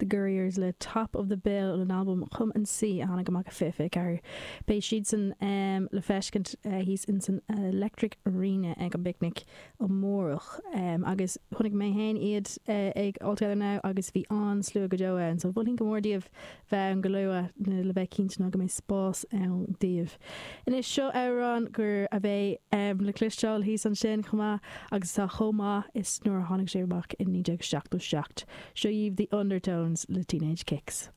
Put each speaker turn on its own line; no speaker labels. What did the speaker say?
Gurriers le Top of the Bill ón albam Come and See a tháinig amach i 2024. Beidh siadsan le feiscint thíos insan Electric Arena ag an bPicnic amárach agus chonaic mé féin iad ag All Together Now agus bhí an-slua go deo ann so mholfainn go mór daoibh bheith ann go luath le bheith cinnte ná go mbeidh spás ann daoibh. Anois seo amhrán gur a bheidh le cloisteáil thíos ansin chomh maith agus atá chomh maith is nuair a tháinig sé amach i 1977. Seo dhaoibh The Undertones le Teenage Kicks.